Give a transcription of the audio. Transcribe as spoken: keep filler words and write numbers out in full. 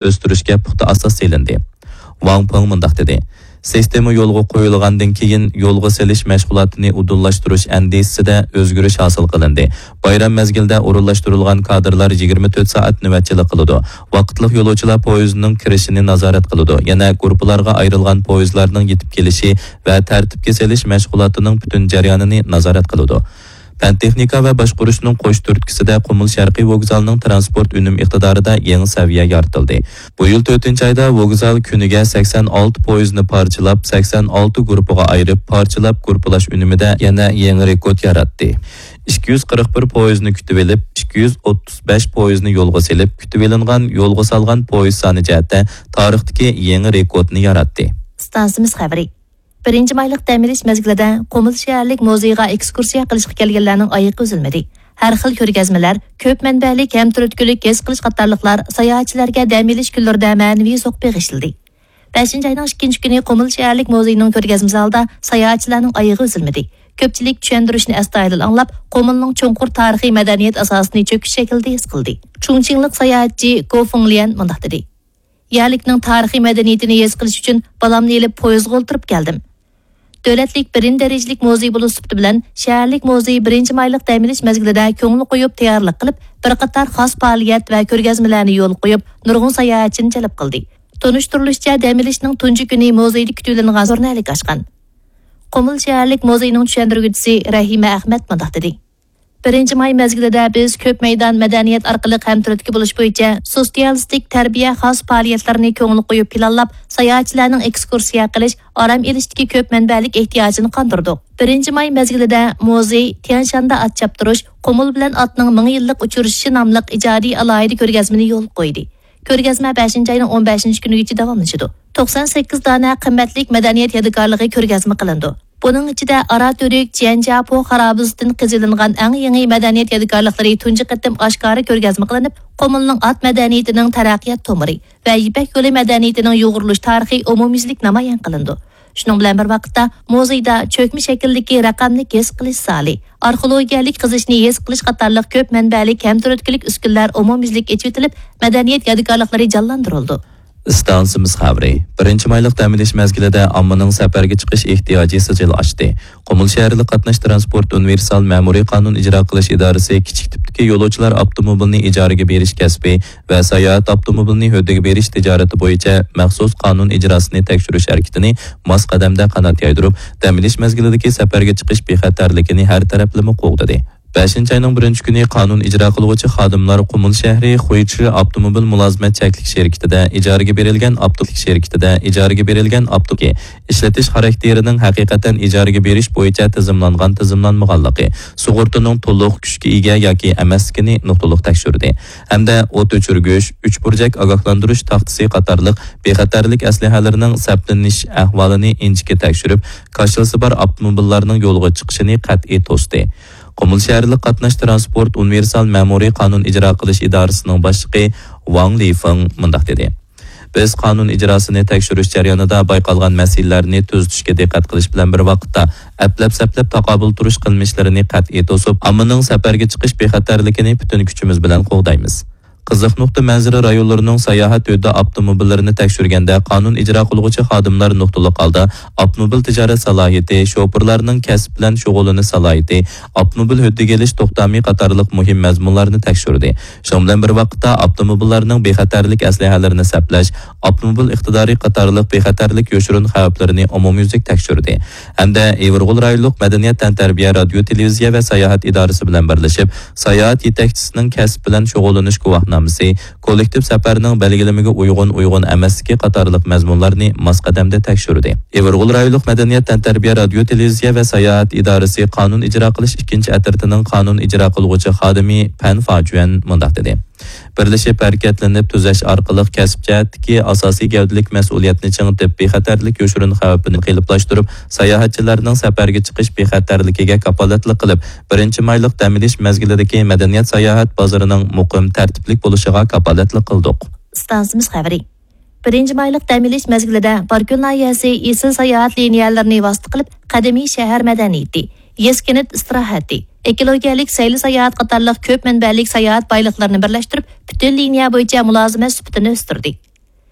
ئۆستۈرۈشكە پۇختا ئاساس سېلىندى. ۋاڭ پېڭ مۇنداق دېدى، سىستېما يولغا قويۇلغاندىن كېيىن، يولغا سېلىش مەشغۇلاتىنى ئۇدۇللاشتۇرۇش ئەندىزىسىدە ئۆزگىرىش ھاسىل قىلىندى. بايرام مەزگىلىدە ئورۇنلاشتۇرۇلغان كادىرلار يىگىرمە تۆت سائەت نۆۋەتچىلىك قىلىدۇ. ۋاقىتلىق يولۇچىلار پويىزىنىڭ كىرىشىنى نازارەت قىلىدۇ. يەنە گۇرۇپپىلارغا ئايرىلغان پويىزلارنىڭ يېتىپ كېلىشى ۋە تەرتىپكە سېلىش مەشغۇلاتىنىڭ پۈتۈن جەريانىنى نازارەت قىلىدۇ. پەن تېخنىكا ۋە باشقۇرۇشنىڭ قوش تۈرتكىسىدە قۇمۇل شەرقىي ۋوگزالىنىڭ تىرانسپورت ئۈنۈم ئىقتىدارىدا يېڭى سەۋىيە يارىتىلدى. بۇ يىل تۆتىنچى ئايدا ۋوگزال كۈنىگە سەكسەن ئالتە پويىزنى پارچىلاپ، سەكسەن ئالتە گۇرۇپپىغا ئايرىپ، پارچىلاپ گۇرۇپپىلاش ئۈنۈمىدە يەنە يېڭى رېكورت ياراتتى. ئىككى يۈز قىرىق بىر پويىزنى كۈتۈۋېلىپ، ئىككى يۈز ئوتتۇز بەش پويىزنى يولغا سېلىپ، كۈتۈۋېلىنغان يولغا سالغان پويىز سانى جەھەتتە تارىختىكى يېڭى رېكورتنى ياراتتى. ئىستانسىمىز خەۋىرى. بىرىنچى مايلىق دەم ئېلىش مەزگىلىدە قۇمۇل شەھەرلىك مۇزېيغا ئېكسكۇرسىيە قىلىشقا كەلگەنلەرنىڭ ئايىقى ئۈزۈلمىدى. ھەر خىل كۆرگەزمىلەر، كۆپ مەنبەلىك ھەم تۈرتكىلىك ھېس قىلىش قاتارلىقلار ساياھەتچىلەرگە دەم ئېلىش كۈنلىرىدە مەنىۋى زوق بېغىشلىدى. بەشىنچى ئاينىڭ ئىككىنچى كۈنى قۇمۇل شەھەرلىك مۇزېينىڭ كۆرگەزمە زالىدا ساياھەتچىلەرنىڭ ئايىغى ئۈزۈلمىدى. كۆپچىلىك چۈشەندۈرۈشنى ئەستايىدىل ئاڭلاپ، قۇمۇلنىڭ چوڭقۇر تارىخىي مەدەنىيەت ئاساسىنى چۆكۈش شەكلىدە ھېس قىلدى. چۇڭچىڭلىق ساياھەتچى گو فېڭليەن مۇنداق دېدى. يەرلىكنىڭ تارىخىي مەدەنىيىتىنى ھېس قىلىش ئۈچۈن بالامنى ئېلىپ پويىزغا ئولتۇرۇپ كەلدىم. دۆلەتلىك بىرىنچى دەرىجىلىك مۇزېي بولۇش سۈپىتى بىلەن، شەھەرلىك مۇزېي بىرىنچى مايلىق دەم ئېلىش مەزگىلىدە كۆڭۈل قويۇپ تەييارلىق قىلىپ، بىر قاتار خاس پائالىيەت ۋە كۆرگەزمىلەرنى يولغا قويۇپ، نۇرغۇن ساياھەتچىنى جەلپ قىلدى. تونۇشتۇرۇلۇشىچە، دەم ئېلىشنىڭ تۇنجى كۈنى مۇزېيدا كۈتۈۋېلىنغان زورنى ئەلگە ئاچقان. قۇمۇل شەھەرلىك مۇزېينىڭ چۈشەندۈرگۈچىسى رەھىمە ئەخمەت مۇنداق دېدى. بىرىنچى ماي مەزگىلىدە بىز كۆپ مەيدان مەدەنىيەت ئارقىلىق ھەمتۈرتكە بولۇش بويىچە سوتسىيالىستىك تەربىيە خاس پائالىيەتلىرىنى كۆڭۈل قويۇپ پىلانلاپ، ساياھەتچىلەرنىڭ ئېكسكۇرسىيە قىلىش، ئارام ئېلىشتىكى كۆپ مەنبەلىك ئېھتىياجىنى قاندۇردۇق. بىرىنچى ماي مەزگىلىدە مۇزېي تيەنشاندا ئات چاپتۇرۇش، قۇمۇل بىلەن ئاتنىڭ مىڭ يىللىق ئۇچرىشىشى ناملىق ئىجادىي ئالاھىدە كۆرگەزمىنى يولغا قويدى. كۆرگەزمە بەشىنچى ئاينىڭ ئون بەشىنچى كۈنىگىچە داۋاملىشىدۇ. توقسان سەككىز دانە قىممەتلىك مەدەنىيەت يادىكارلىقى كۆرگەزمە قىلىنىدۇ. بۇنىڭ ئىچىدە ئاراتۈرك جيەنجياپو خارابىسىدىن قېزىۋېلىنغان ئەڭ يېڭى مەدەنىيەت يادىكارلىقلىرى تۇنجى قېتىم ئاشكارا كۆرگەزمە قىلىنىپ، قۇمۇلنىڭ ئات مەدەنىيىتىنىڭ تەرەققىيات تومۇرى ۋە يىپەك يولى مەدەنىيىتىنىڭ يۇغۇرۇلۇش تارىخى ئومۇميۈزلۈك نامايان قىلىنىدۇ. شۇنىڭ بىلەن بىر ۋاقىتتا، مۇزېيدا چۆكمە شەكىلدىكى رەقەملىك ھېس قىلىش زالى، ئارخېئولوگىيەلىك قېزىشنى ھېس قىلىش قاتارلىق كۆپ مەنبەلىك ھەم تۈرتكىلىك ئۈسكۈنىلەر ئومۇميۈزلۈك ئېچىۋېتىلىپ، مەدەنىيەت يادىكارلىقلىرى جانلاندۇرۇلىدۇ. ئىستانسىمىز خەۋىرى. بىرىنچى مايلىق دەم ئېلىش مەزگىلىدە ئاممىنىڭ سەپەرگە چىقىش ئېھتىياجى سىجىل ئاشتى. قۇمۇل شەھەرلىك قاتناش تىرانسپورت ئۇنىۋېرسال مەمۇرىي قانۇن ئىجرا قىلىش ئىدارىسى كىچىك تىپتىكى يولۇچىلار ئاپتوموبىلىنى ئىجارىگە بېرىش كەسپى ۋە ساياھەت ئاپتوموبىلىنى ھۆددىگە بېرىش تىجارىتى بويىچە مەخسۇس قانۇن ئىجراسىنى تەكشۈرۈش ھەرىكىتىنى ماس قەدەمدە قانات يايدۇرۇپ، دەم ئېلىش مەزگىلىدىكى سەپەرگە چىقىش بىخەتەرلىكىنى ھەر تەرەپلىمە قوغدىدى. بەشىنچى ئاينىڭ بىرىنچى كۈنى قانۇن ئىجرا قىلغۇچى خادىملار قۇمۇل شەھىرى خۇيچى ئاپتوموبىل مۇلازىمەت چەكلىك شىركىتىدە ئىجارىگە بېرىلگەن ئاپتو-، شىركىتىدە ئىجارىگە بېرىلگەن ئاپتوكى ئىشلىتىش خاراكتېرىنىڭ ھەقىقەتەن ئىجارىگە بېرىش بويىچە تىزىملانغان-تىزىملانمىغانلىقى، سۇغۇرتىنىڭ تولۇق كۈچكە ئىگە ياكى ئەمەسلىكىنى نۇقتىلىق تەكشۈردى ھەمدە ئوت ئۆچۈرگۈچ، ئۈچ بۇرجەك ئاگاھلاندۇرۇش تاختىسى قاتارلىق بىخەتەرلىك ئەسلىھەلىرىنىڭ سەپلىنىش ئەھۋالىنى ئىنچىكە تەكشۈرۈپ، كاشىلىسى بار ئاپتوموبىللارنىڭ يولغا چىقىشىنى قەتئىي توستى. قۇمۇل شەھەرلىك قاتناش تىرانسپورت ئۇنىۋېرسال مەمۇرىي قانۇن ئىجرا قىلىش ئىدارىسىنىڭ باشلىقى ۋاڭ لىفېڭ مۇنداق دېدى: بىز قانۇن ئىجراسىنى تەكشۈرۈش جەريانىدا بايقالغان مەسىلىلەرنى تۈزىتىشكە دىققەت قىلىش بىلەن بىر ۋاقىتتا، ئەپلەپ-سەپلەپ تاقابىل تۇرۇش قىلمىشلىرىنى قەتئىي توسۇپ، ئاممىنىڭ سەپەرگە چىقىش بىخەتەرلىكىنى پۈتۈن كۈچىمىز بىلەن قوغدايمىز. قىزىق نۇقتا مەنزىرە رايونلىرىنىڭ ساياھەت ھۆددە ئاپتوموبىللىرىنى تەكشۈرگەندە، قانۇن ئىجرا قىلغۇچى خادىملار نۇقتىلىق ھالدا ئاپتوموبىل تىجارەت سالاھىيىتى، شوپۇرلارنىڭ كەسىپ بىلەن شۇغۇللىنىش سالاھىيىتى، ئاپتوموبىل ھۆددىگە ئېلىش توختامى قاتارلىق مۇھىم مەزمۇنلارنى تەكشۈردى. شۇنىڭ بىلەن بىر ۋاقىتتا، ئاپتوموبىللارنىڭ بىخەتەرلىك ئەسلىھەلىرىنى سەپلەش، ئاپتوموبىل ئىقتىدارى قاتارلىق بىخەتەرلىك يوشۇرۇن خەۋپلىرىنى ئومۇميۈزلۈك تەكشۈردى ھەمدە ئىۋىرغول رايونلۇق مەدەنىيەت تەنتەربىيە رادىيو، تېلېۋىزىيە ۋە ساياھەت ئىدارىسى بىلەن بىرلىشىپ، ساياھەت يېتەكچىسىنىڭ كەسىپ بىلەن شۇغۇللىنىش گۇۋاھنامىسى، كوللېكتىپ سەپەرنىڭ بەلگىلىمىگە ئۇيغۇن، ئۇيغۇن ئەمەسلىكى قاتارلىق مەزمۇنلارنى ماس قەدەمدە تەكشۈردى. ئىۋىرغول رايونلۇق مەدەنىيەت تەنتەربىيە رادىيو، تېلېۋىزىيە ۋە ساياھەت ئىدارىسى قانۇن ئىجرا قىلىش ئىككىنچى ئەترىتىنىڭ قانۇن ئىجرا قىلغۇچى خادىمى پەن فاجۈەن مۇنداق دېدى: بىرلىشىپ ھەرىكەتلىنىپ تۈزەش ئارقىلىق كەسىپ جەھەتتىكى ئاساسىي گەۋدىلىك مەسئۇلىيەتنى چىڭىتىپ، بىخەتەرلىك يوشۇرۇن خەۋپىنى قېلىپلاشتۇرۇپ، ساياھەتچىلەرنىڭ سەپەرگە چىقىش بىخەتەرلىكىگە كاپالەتلىك قىلىپ، بىرىنچى مايلىق دەم ئېلىش مەزگىلىدىكى مەدەنىيەت ساياھەت بازىرىنىڭ مۇقىم، تەرتىپلىك بولۇشىغا كاپالەتلىك قىلدۇق. ئىستانسىمىز خەۋىرى. بىرىنچى مايلىق دەم ئېلىش مەزگىلىدە باركۆل ناھىيەسى ئېسىل ساياھەت لىنىيەلىرىنى ۋاسىتە قىلىپ، قەدىمىي شەھەر مەدەنىيىتى، يېزا كەنت ئىستىراھەتى، ئېكولوگىيەلىك سەيلە ساياھەت قاتارلىق كۆپ مەنبەلىك ساياھەت بايلىقلىرىنى بىرلەشتۈرۈپ، پۈتۈن لىنىيە بويىچە مۇلازىمەت سۈپىتىنى ئۆستۈردى.